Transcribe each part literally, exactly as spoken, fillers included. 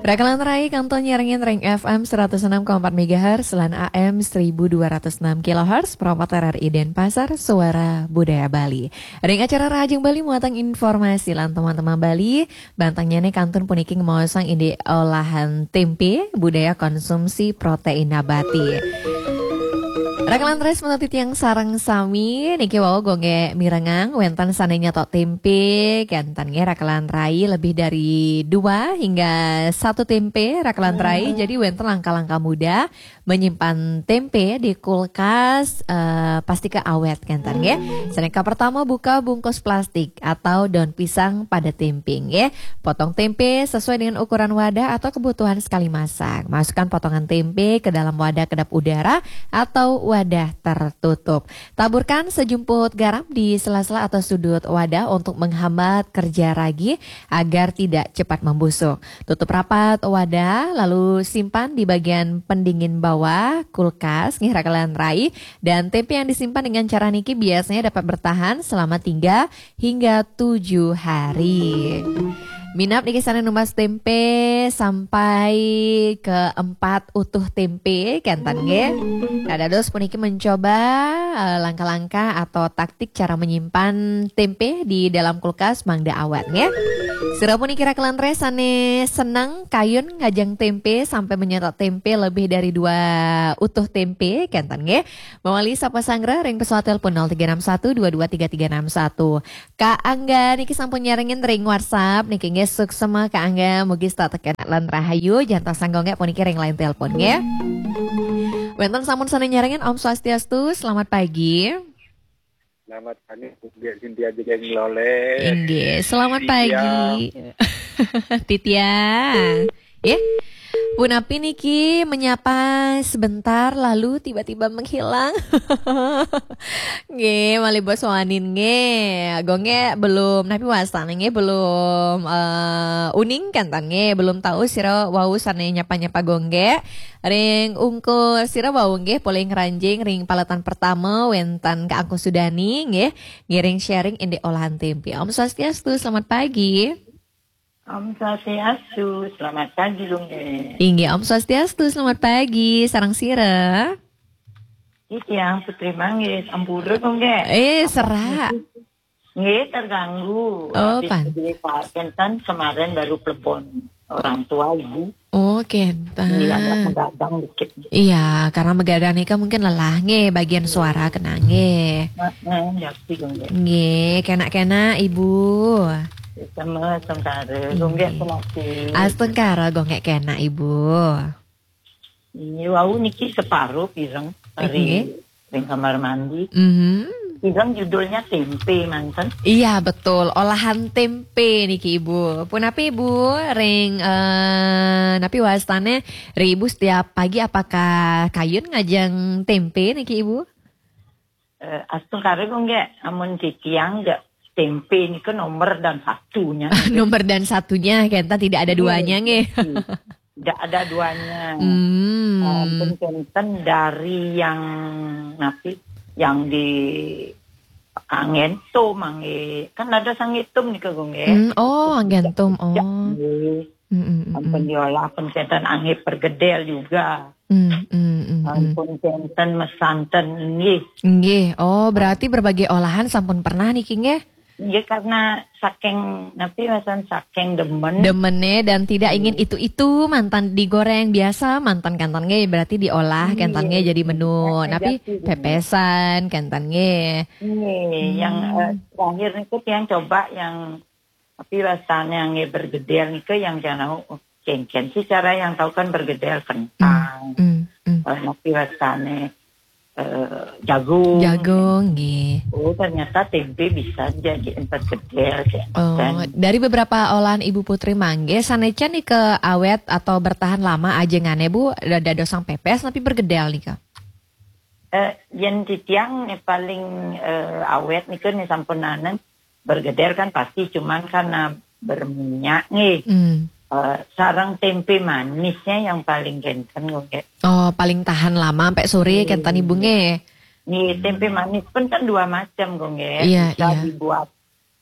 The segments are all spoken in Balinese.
Rakalan rai kantun nyarengin ring F M seratus enam koma empat megahertz lan A M seribu dua ratus enam kilohertz, Pro empat R R I Denpasar, Suara Budaya Bali. Ring acara Rahajeng Bali muatan informasi lan teman-teman Bali, bantang nyané kantun puniki ngemaosang indik olahan tempe, budaya konsumsi protein nabati. Rakalan rai semeton titiang sareng sami, niki wau Gung Gek mirengang wénten sané nyetok tempe, kénten nggih rakalan rai lebih dari dua hingga satu tempe rakalan rai. Jadi wénten langkah-langkah mudah menyimpan tempe di kulkas, eh, pastika awét kénten nggih. Sané kapertama buka bungkus plastik atau daun pisang pada tempe nggih. Potong tempe sesuai dengan ukuran wadah atau kebutuhan sekali masak. Masukkan potongan tempe ke dalam wadah kedap udara atau wadah tertutup. Taburkan sejumput garam di sela-sela atau sudut wadah untuk menghambat kerja ragi agar tidak cepat membusuk. Tutup rapat wadah, lalu simpan di bagian pendingin bawah kulkas, nggih rakalan rai. Dan tempe yang disimpan dengan cara niki biasanya dapat bertahan selama tiga hingga tujuh hari. Minab niki sané numbas tempe sampai ke empat utuh tempe, kénten nggih. Nah, dados puniki mencoba, eh, langkah-langkah atau taktik cara menyimpan tempe di dalam kulkas mangda awét nggih. Sira puniki rakalan rai sané seneng kayun ngajeng tempe sampai menyetok tempe lebih dari dua utuh tempe, kénten nggih. Mawali sapa sanggra ring pesawat telepon nol tiga enam satu dua dua tiga tiga enam satu. Kak Angga niki sampun nyarengin ring WhatsApp niki nggih, suksma Kak Angga, mugi setata kenak lan rahayu, jantos sangga nggih puniki ring line telepon nggih. Wénten sampun sané nyarengin, Om Swastiastu, selamat pagi. Selamat pagi, Bung Gek Cynthia Jegeng Loleh. Inggih, selamat Cynthia. Pagi. Titia. Ya. Punapi niki menyapa sebentar lalu tiba-tiba menghilang. Nggih, malih bos wanin nggih. Gung Gek belum, napi wastané nggih belum, eh, uning kénten nggih, belum tahu sira wau sané nyapa-nyapa Gung Gek. Ring ungkur sira wau nggih polih ngranjing ring paletan pertama wénten Kak Angku Sudani nggih, ngiring sharing indik olahan tempe. Om Swastiastu, selamat pagi. Om Swastiastu, selamat pagi Gung Gek. Inggih, Om Swastiastu, selamat pagi. Sareng sira? Titiang Putri Manggis, ampura Gung Gek. Eh, serak. Nggih, terganggu. Oh, Habis pan. Beli Pak Kentan kemarin baru plebon orang tua ibu. Oh, kénten. Iya, agak menggadang dikit. Iya, karena begadang nika mungkin lelah nggih, bagian suara kena nggih. Heeh, ya sih Gung Gek. Nggih, kenak-kenak Ibu. Sama sengkara. Gung Gek penasi. Astungkara Gung Gek kenak Ibu. Ini wau niki separuh pireng dari Nggih. ring kamar mandi. Mhm. Pireng judulnya tempe manten. Iya, betul, olahan tempe niki Ibu. Punapi Ibu, ring eh, napi wastané ring Ibu setiap pagi apakah kayun ngajeng tempe niki Ibu? Eh, astungkara Gung Gek, amun titiang jak tempe nika nomor dan satunya. Nomor dan satunya, kénten tidak ada duanya nggih. Tidak ada duanya. Hmm. Ampun kénten dari yang napi, yang di anggentum, angge. Kan ada sanggetum nika Gung Gek. Hmm, oh, anggentum. Oh. Nggih. Hmm, hmm, hmm, Ampun hmm. Diolah, ampun kénten angge pergedel juga. Hmm, hmm, hmm, hmm. Ampun kénten mesanten inggih. Nggih. Oh, berarti berbagai olahan sampun pernah niki nggih? Nggih, karena saking napi wasan saking demen. Demené dan tidak ingin itu-itu manten digoreng biasa, manten kénten nggih berarti diolah kénten nggih jadi menu. Iya, Napi jadi. pepesan kénten nggih. Nggih, yang eh, terakhir niku yang coba yang napi wastané angge bergedel niku yang jangan tahu, oh, kénkén sih cara yang tahu kan bergedel kentang. Hmm, hmm. Eh, napi wastané eh, jagung. Jagung nggih. Oh, ternyata tempe bisa jadi empat gedel. Oh, Dan dari beberapa olahan Ibu Putri mangge, sané can nika awet atau bertahan lama ajengané Bu, dadosang pepes napi bergedel nika? eh, yen titiang eh, paling eh, awet niku nih sampun nanem bergedel kan pasti cuman karena berminyak nih. Hmm. Eh, sarang tempe manisnya yang paling kénten Gung Gek. Oh, paling tahan lama sampai sore Iya. Kénten Ibu nggih. Nih tempe manis pun kan dua macam Gung Gek. Iya, Bisa iya. dibuat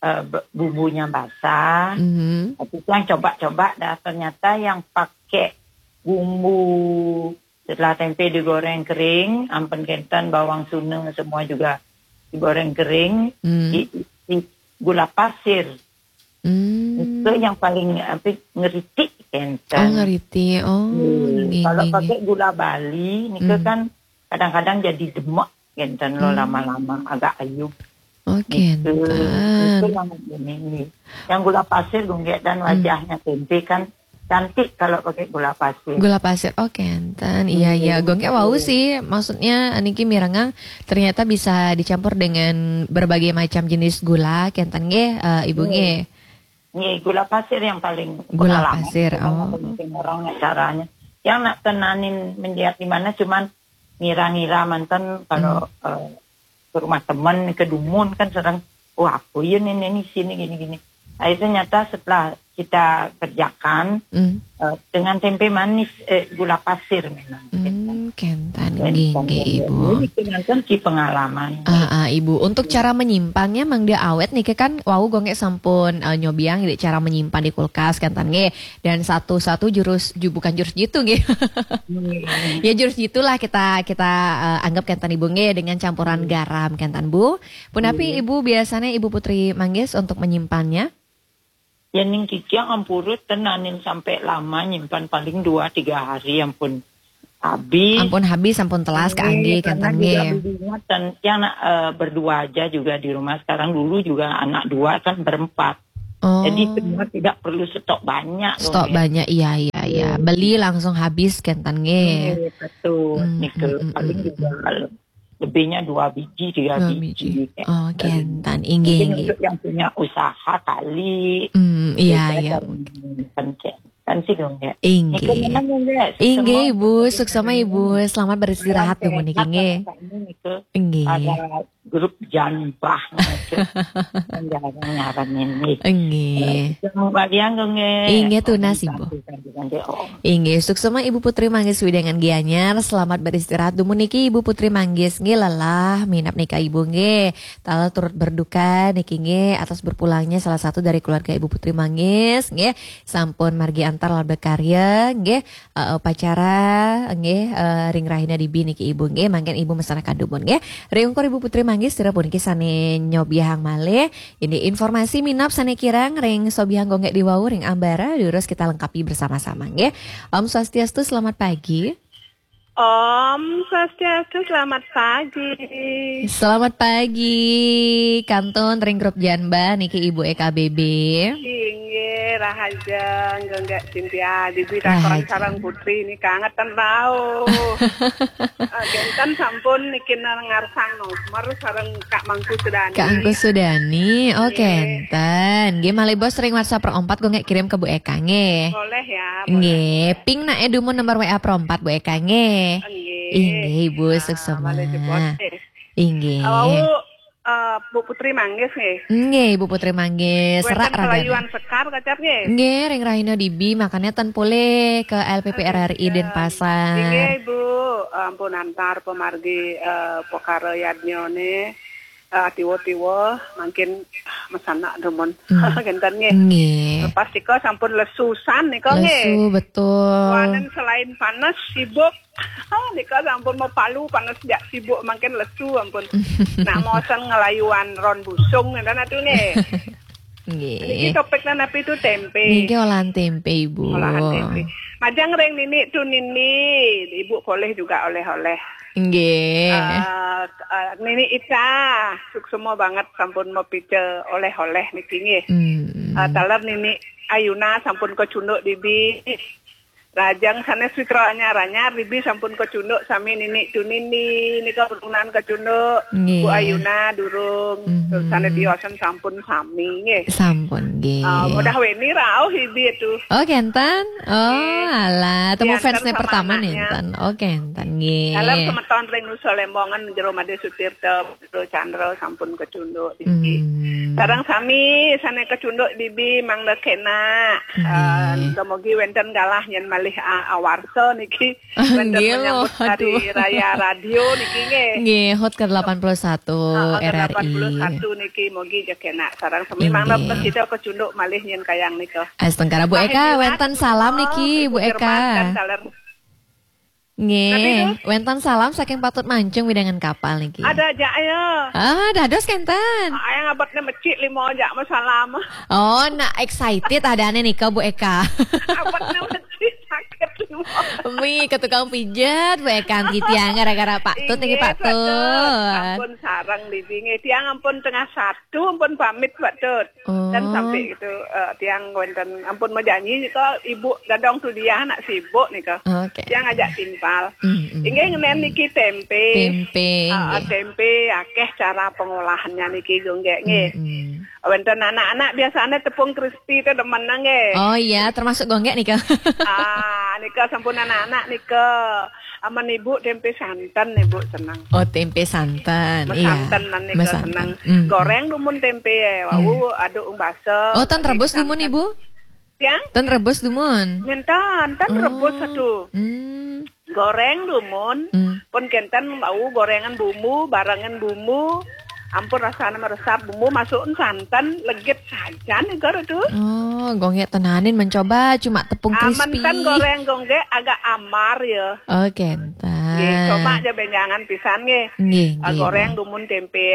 uh, bumbunya basah. Mm-hmm. Tapi yang coba-coba dah, ternyata yang pakai bumbu setelah tempe digoreng kering, ampun kenten, bawang suna semua juga digoreng kering, mm. di, di gula pasir. Mm. Itu yang paling apa, ngeritik kenten. Oh, ngeritik. Oh, hmm. Kalau pakai gula Bali, nika mm. kan kadang-kadang jadi demak kenten lo hmm. lama-lama agak ayub. Oke, okay, gitu. Itu yang ini. Yang gula pasir gunggek dan hmm. wajahnya tempe kan cantik kalau pakai gula pasir. Gula pasir, oke, okay, enten. Iya, iya. Hmm. Gunggek wau sih, maksudnya niki mirengang ternyata bisa dicampur dengan berbagai macam jenis gula, kenten nggih, uh, Ibu nggih. Nggih, gula pasir yang paling gula pasir. Oh. Orang caranya. Yang nak tenanin menjadi mana cuman ngira-ngira mantan kalau hmm. uh, ke rumah teman ke dumun kan sering, wah, apa ya nih, ini sini gini-gini. Nah, itu nyata setelah kita kerjakan hmm. uh, dengan tempe manis, eh, gula pasir memang. Hmm, kenten, kenten Ibu. Ini kenten ki pengalaman. Uh, uh, Ibu, untuk cara menyimpannya, Mang dia awet nih kan, wau gunggek sampun uh, nyobiang cara menyimpan di kulkas kenten nggih. Dan satu-satu jurus, ju, bukan jurus jitu nggih. ya jurus jitulah kita kita uh, anggap kenten Ibu nggih dengan campuran garam kenten Bu. Punapi Ibu biasanya Ibu Putri Manggis untuk menyimpannya? Ya ning kiki ampurut tenanin sampai lama nyimpan paling dua tiga hari ampun habis. Ampun habis, ampun telas kaanggih kenten nggih. Dan yang uh, berdua aja juga di rumah sekarang, dulu juga anak dua kan berempat. Oh. Jadi semua tidak perlu stok banyak. Stok banyak, iya, iya, iya. Beli langsung habis kenten nggih. Iya, betul. Hmm, nika hmm, paling hmm, juga hmm. lebihnya dua biji, tiga dua biji. biji. Oh, kenten. Inggih, inggih. Untuk yang punya usaha kali. Hmm, iya, iya. Kan, kan sih dong ya. Inggih. Inggih, Ibu. Suksma, Ibu. Selamat beristirahat dulu niki nggih. Inggih. Grup Janbah. Ngarang ini. Enggih. Bagian enggih. Inggih tunas Ibu. Inggih, suksma Ibu Putri Manggis Widangan Gianyar. Selamat beristirahat dumun niki Ibu Putri Manggis nggih, lelah minap nika Ibu nggih. Taler turut berduka niki nggih atas berpulangnya salah satu dari keluarga Ibu Putri Manggis nggih. Sampun margi antar lan berkarya nggih. Uh, upacara nggih uh, ring rahina dibi niki Ibu nggih, mangkin Ibu mesana kadumun nggih. Ring ungkur Ibu Putri Manggis sira puniki sane nyobiahang malih ini informasi minap sane kirang ring sobiahang gunggek diwau ring ambara, durus kita lengkapi bersama-sama nggih. Om Swastiastu, selamat pagi. Om Swastiastu, selamat pagi. Selamat pagi, kantun ring grup Janbah niki Ibu E K B B. Inggih, rahajeng, gunggek Cynthia, Dibi Takon sareng Putri niki kangetan rauh. Kenten sampun niki ngarsang nomor sareng Kak Mangku Sudani. Kak Mangku Sudani, oh kenten. Nggih malih bos ring WhatsApp perempat gunggek kirim ke Bu Eka nggih. Boleh ya. Nggih, ping nak dumun nomor W A perempat Bu Eka nggih. Inggih Ibu, suksma. Inggih. Wau uh, Bu Putri Manggis nggih. Nggih, Ibu Putri Manggis. Serak ragane. Sekar kacap nggih. Nggih, ring rahina dibi makanya ten pulih ke L P P R R I Denpasar. Nggih, Ibu. Ampun antar pemargi uh, pekara yadnyane uh, tiwa-tiwa mangkin mesana dumun. Hmm. Kenten nggih. Nggih. Pas nika sampun lesusan nika nggih. Lesu, betul. Wanen selain panas, sibuk. Oh, nika sampun mau palu panas jak sibuk mangkin lesu ampun. Nak mosen ngelayuan ron busung ngenten atuh nggih. Nggih. Niki topiknya napi itu tempe. Niki olahan tempe Ibu. Olahan tempe. Majeng ring nini tu nini, Ibu boleh juga oleh-oleh. Nggih. Uh, uh, nini Ica, suksma banget sampun mau pica oleh-oleh niki nggih. Hmm. Uh, taler nini Ayuna sampun kecunduk dibi. Lajeng sanes Wikra anyar-anyar, Bibi sampun kecunduk sami nini tu nini, nika keturunan kecunduk, Bu Ayuna durung, mm-hmm. Sanes tiosan sampun sami nggih. Sampun nggih. Uh, mudah weni rauh Bibi itu. Oh kenten? Oh alah, temu fansnya pertama nih enten. Oh kenten nggih. Dalam semeton ring Nusa Lembongan jero Made Sutirta. Chandra sampun kecunduk Bibi. Hmm. Sareng sami sane kecunduk Bibi mangda kena. Hmm. Uh, mogi wenten galah nyen malih. Pih a- awarsa niki wenten menyambut hari raya radio niki nggih. Nggih, hut ke delapan puluh satu. Heeh, ke R R I. Delapan puluh satu niki, mugi jek enak sareng sami. Inggih. Mangda kita kecunduk malih nyen kayang nika. Astungkara Bu Eka, wenten salam niki, Bu Eka. Nggih, wenten salam saking Patut Mancung, wewidangan Kapal niki. Ada aja ya. Ah, dados kenten. Ayang abetnya mecik lima aja salam. Oh, nak excited adanya nika, Bu Eka. Abetnya mecik sakit lima. Mi ke tukang pijat, Bu Eka, nggih tiang gara-gara Patut niki, Patut. Ampun sareng Bibi nggih. Tiang ampun tengah satu ampun pamit, Patut. Dan sampai itu, eh, tiang wenten ampun mejanji nika, Ibu Dadong Tudiah nak sibuk nika. Oke. Tiang ajak timpal. Mm, mm. Inggih ngenen niki tempe. Tempe, ah, nggih. Tempe akeh cara pengolahannya niki, Gung Gek, nggih. Mm, mm. Wenten anak-anak biasanya tepung crispy itu demen nggih. Oh iya, termasuk Gung Gek nika. Ah, nika sampun anak-anak nika. Amen Ibu tempe santen, Ibu seneng. Oh, tempe santen. Iya. Mesanten nan nika seneng. Mm. Goreng dumun tempe ya. Wau aduk umbasa. Oh, ten rebus dumun, Ibu? Tiang? Ten rebus dumun. Ngenten, ten rebus satu. Hmm. Goreng dumun. Hmm. Pun kenten wau gorengan bumbu, barengan bumbu. Ampun rasanya meresap bumbu, masukin santan, legit saja nih, Gor, tuh. Oh, Gung Gek tenanin mencoba cuma tepung crispy. Amen ten goreng Gung Gek agak amar ya. Oh, kenten. Nggih, coba aja benjangan pisan nggih. Nggih, ah, nggih, goreng dumun tempe,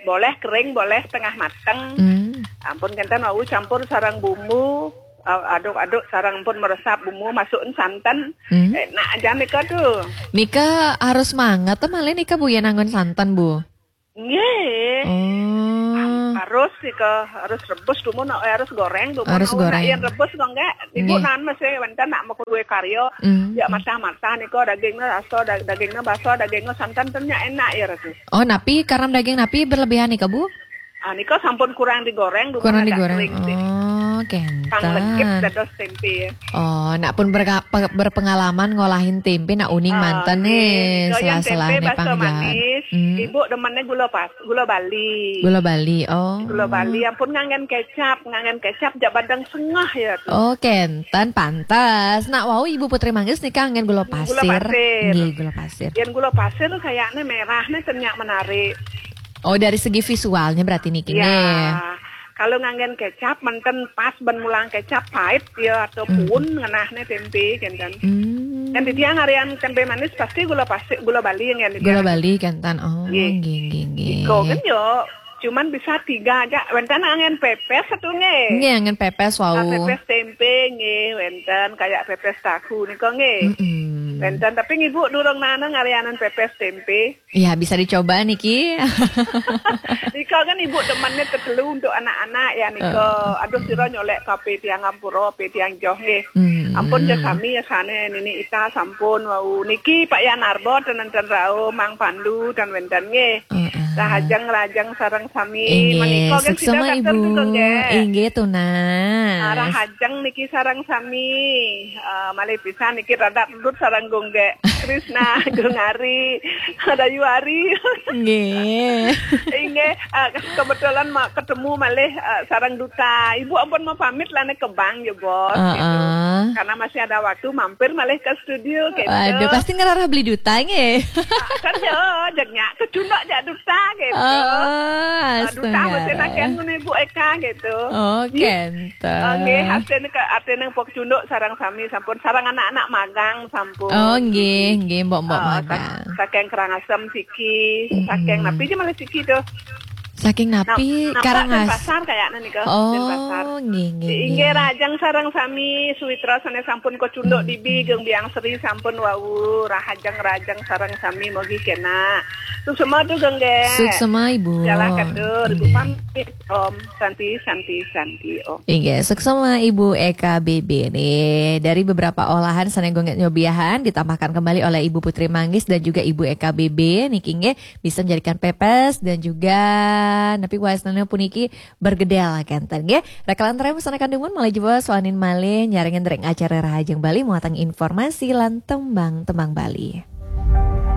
boleh kering, boleh tengah mateng. Hmm. Ampun kenten wau campur sareng bumbu, ah, aduk-aduk sareng pun meresap bumbu, masukin santan. Hmm. Enak aja nika tuh. Nika harus manget malih nika, Bu, ya, nanggon santan, Bu. Nggih. Oh. Harus sih ke, harus rebus dumun, eh, harus goreng dumun. Harus goreng. Yen rebus kok enggak, Ibu nan mesti wenten nak mau kue karya. Hmm. Ya matah-matah nika dagingnya rasa, da- dagingnya basa, dagingnya santan tennya enak ya, Ratu. Oh, napi karam daging napi berlebihan nika, Bu? Ah, nika sampun kurang digoreng dumun. Kurang agak digoreng. Kering sih. Oh, kenten. Kang legit dados tempe ya. Oh, nak pun berka- pe- berpengalaman ngolahin tempe nak uning manten nih, nika yang sela-sela tempe nih basa pangjalan. Manis. Hmm. Ibu demennya gula pas- gula Bali. Gula Bali, oh. Gula Bali, ampun nganggen kecap, nganggen kecap jak badeng sengah ya tuh. Oh, kenten pantes. Nak wau Ibu Putri Manggis nika nganggen gula pasir. Gula pasir. Nggih, gula pasir. Yang gula pasir kayaknya merahnya tenyak menarik. Oh, dari segi visualnya berarti niki nggih. Ya. Kalau nganggen kecap, menten pas ben mulang kecap pahit ya atau pun ngenahnya tempe kenten. Hmm. Yang di tiang harian tempe manis pasti gula pasir, gula Bali yang di tiang. Gula Bali kenten. Oh, nggih, nggih, nggih. Iko kan yo, cuman bisa tiga aja. Wenten angin pepes satu nggih. Nggih, angin pepes wau. Ah, pepes tempe nggih, wenten kayak pepes tahu niko nggih. Mm-mm. Wenten, tapi ibu durung nana ngarianan pepes tempe. Ya, bisa dicoba niki. Nika kan ibu demennya tetelu untuk anak-anak ya nika. Aduh, sira nyolek kape tiang ampura, pe tiang joh nggih. Hmm. Ampun ya sami ya sane nini ita sampun wau. Niki Pak Yan Arbo ten ten rau, Mang Pandu dan wenten nggih. Heeh. Rahajeng rajeng sareng sami. Inggih, menika kan suksema, sida Ibu. Nggih. Inggih, Tuna. Ah, rahajeng niki sareng sami. Ah, malih pisan niki rada rudut sareng Gung Gek. Krisna, Gung Ari, Dayu Ari. Nggih. Inggih, ah, kebetulan ma- ketemu malih, ah, sareng duta. Ibu ampun mau pamit lah nih ke bank ya, Bos. Heeh. Gitu. Karena masih ada waktu mampir malih ke studio gitu. Aduh, pasti ngerarah beli duta nggih. Ah, kan ya, jegnya kecunduk jak duta gitu. Oh, ah, duta astaga. Mesti nakian ngono Ibu Eka gitu. Oh, nggih. Kenten. Ah, nggih, artine ke artine pok cunduk sareng sami sampun sareng anak-anak magang sampun. Oh, nggih, nggih, mbok-mbok magang. Saking Karangasem siki, saking napi aja malah siki tuh. Saking napi? Karangasem. Pasar kayaknya nih, Kak. Oh, nggih, nggih. Inggih, rahajeng sareng sami, suwitra sane sampun kecunduk dibi, Gung Biang Sri sampun wau, rahajeng-rahajeng sareng sami, mogi kena. Suksema tuh, Gung Gek. Suksema, Ibu. Jalan katur, Ibu pamit, Om. Santi, Santi, Santi, Om. Inggih, suksema Ibu Eka B B nih. Dari beberapa olahan sane Gung Gek nyobiahan ditambahkan kembali oleh Ibu Putri Manggis dan juga Ibu Eka B B niki nggih bisa menjadikan pepes dan juga napi wae puniki bergedel kenten nggih. Rekalan terem sana kandumun malih jebos wanin malih nyarengin ring acara Rahajeng Bali muatan informasi lan tembang-tembang Bali.